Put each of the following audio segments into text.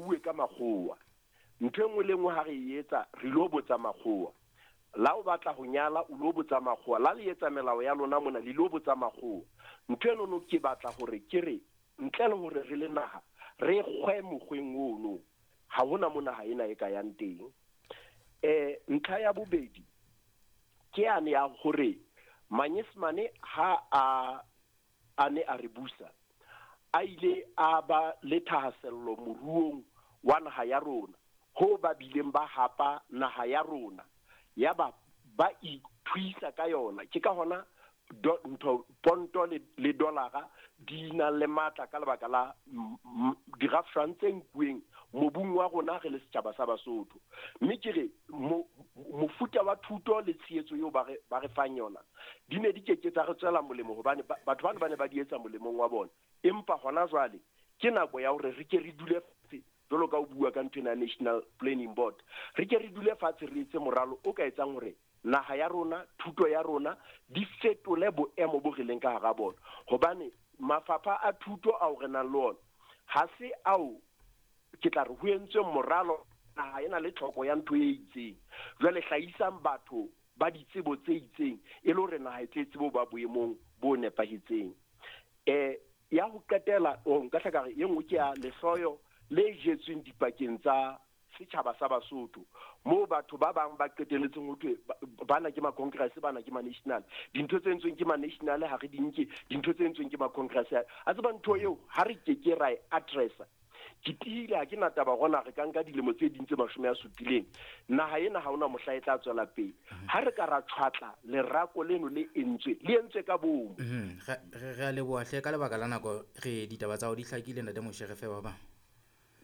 bauwe ka makgowa. Ntho e nngwe le nngwe ha re e etsa re lo botsa makgowa. La o batla ho nyala o lo botsa makgowa, la le etsa melao ya lona mona le lo botsa makgowa. Ntho eno ke batla hore ke re ntle le hore re le naha re kgwe mokgweng ono, ha hona mo naha ena e ka yang teng. Ntlha ya bobedi ke yane ya hore Manyesemane ha a ne a re busa, a ile a ba le thahasello moruong wa naha ya rona, ho ba bileng ba hapa naha ya rona, ya ba ba ithuisa ka yona. Ke ka hona ntho ponto le dollara di na le matla ka lebaka la dirafshwang tse nkuweng mobung wa rona re le setjhaba sa Basotho. Mme ke re mofuta wa thuto le tshehetso eo ba re fang yona di ne di keke tsa re tswela molemo, hobane batho bana ba ne ba di etsa molemong wa bona. Empa hona jwale ke nako ya hore re ke re dule fatshe, jwalo ka o bua ka ntho ena National Planning Board, re ke re dule fatshe re etse moralo o ka etsang hore naha ya rona, thuto ya rona di fetole boemo bo re leng ka hara bona. Hobane mafapha a thuto ao re nang le ona ha se ao ke tla re ho entswe moralo, naha ena le tlhoko ya ntho e itseng. Jwale hlahisang batho ba ditsebo tse itseng e le hore naha e tle tsebe ho ba boemong bo nepahetseng. Ya ho qetela, nka hla ka re e nngwe ke ya lehloyo le jetsweng dipakeng tsa setjhaba sa Basotho, moo batho ba bang ba qetelletseng ho thwe bana ke ma-Congress, bana ke ma-National. Dintho tse entsweng ke ma-National ha re di nke, dintho tse entsweng ke ma-Congress. A tseba ntho eo ha re ke ke ra e addressa. Ke tiile ha ke na taba gona re ka nka dilemo tse ding tse 70, naha ena ha hona mohla e tla tswela pele. Ha re ka ra tshwatla lerako leno le entswe, le entswe ka bomo. Re a leboha hle ka lebaka la nako, re ditaba tsa hao di hlakile ntate Moshe, re fe ba bang.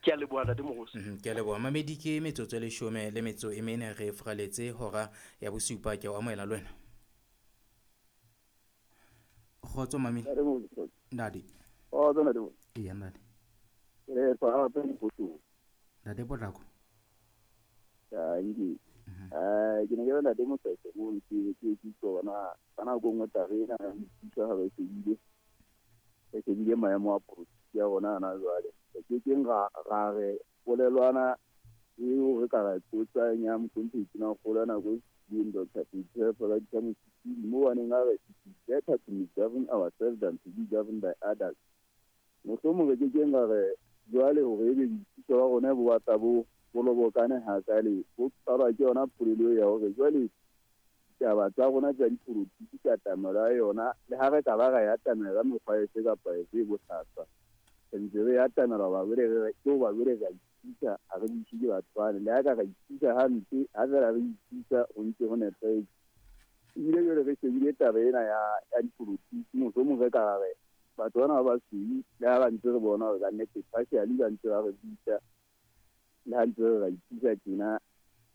Ke a leboha ntate Mogosi. Ke a leboha mamedi, ke metsotso e 14 re furaletse hora ya bosupa. Ke o amohela le wena. Kgotso mami. Ntate. Kgotso ntate. Eya ntate. Re fa hape Mokgotso. Ntate Potlako. Ke ke ne ke ntate Mosese mo ke ke tsona ka nako nngwe taba ena ya boipuso ha re shebile, re shebile maemo a polotiki ya rona hana jwale. Re ke keng ra re polelwana eo re ka ra tsotsang ya mohlomphehi Tonakgolo ya nako e fetileng, Dr. Peter Radisa Mosisili, moo a neng a re it is better to misgovern ourselves than to be governed by others. Mohlomong re ke keng ra re jwale hore ebe boipuso ba rona bo batla bo bolobokane hakale, bo qalwa ke yona polelo ya hore jwale ditaba tsa rona tsa dipolotiki ka katamelo ya yona, le ha re ka ba ra e atamela ka mekgwa efe kapa efe e bohlaswa, re ntse re atamela hoba jwale re ke hoba jwale re a ipisa, ha re buise ke batho bane. Le ha ka ra ipisa hampe, ha fela re ipisa ho ntse ho nepahetse. Ebile jwale re shebile taba ena ya dipolotiki, mohlomong re ka re batho bana ba basweu, le ha ba ntse re bona hore kannete partially ba ntse ba re buisa, le ha ntse re ra ipisa tjena,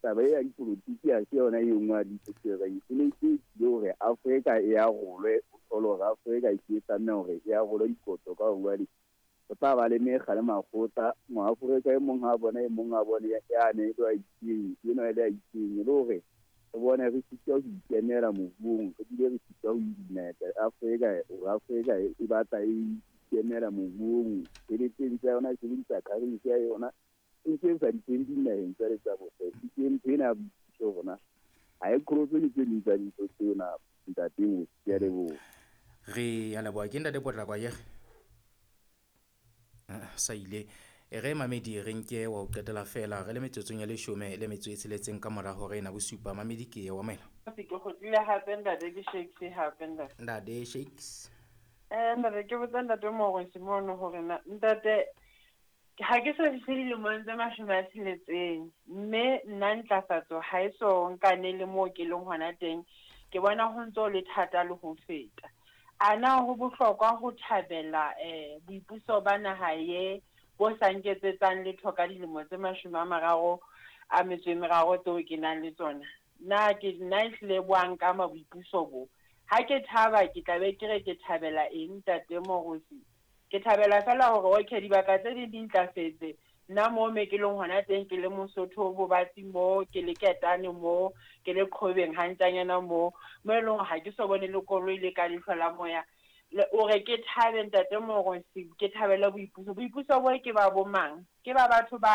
taba e ya dipolotiki ha se yona e nngwe ya dintho tse re e ne ke tlile hore Afrika e arolwe, o thole hore Afrika e ke tlameha hore e arolwe dikoto ka hore jwale ho tla ba le mekga le makgotla, Moafrika e mong ha bona e mong a bone yane e le a itseng, enwa e le a itseng, e le hore re bone re sitwa ho ikemela moruong, re bile re sitwa ho unite Afrika, hore Afrika e batla e ikemela moruong, tjheleteng tsa yona e sebedisa currency ya yona, e ntse e sa di kene dinaheng tsa le tsa bose. Ke ntho ena ya boipuso rona ha e qholotse le tse ding tsa dintho tseo na ntate Mosi. Ke a leboha. Re a leboha. Ke ntate Potlako akere? Sa ile. E re mamedi re nke wa ho qetela fela re le metsotsong ya 16 ka mora hora ena bosupa. Mamedi ke wa maela. Ke kgutlile hape ntate, ke Shakes hape ntate. Ntate Shakes. Ntate ke botsa ntate Mogosi mono hore na ntate ha ke so fihle dilemong tse 60, mme nna ntlafatso ha e so nkane le moo ke leng hona teng, ke bona ho ntso le thata le ho feta. A na ho bohlokwa ho thabela boipuso ba naha ye bo sa nketsetsang letho ka dilemo tse 33 tseo ke nang le tsona? Na ke nna ehlile bo a nkama boipuso bo? Ha ke thaba ke tla be ke re ke thabela eng ntate Mogosi? Ke thabela fela hore okay dibaka tse ding di ntlafetse, nna moo me ke leng hona teng ke le Mosotho bo batsi mo, ke le Ketane mo, ke le Qhobeng hantjanyana mo, mo e leng ha ke so bone le koloi le ka leihlo la moya. O re ke thabe ntate Mogosi, ke thabela boipuso. Boipuso bo ke ba bo mang? Ke ba batho ba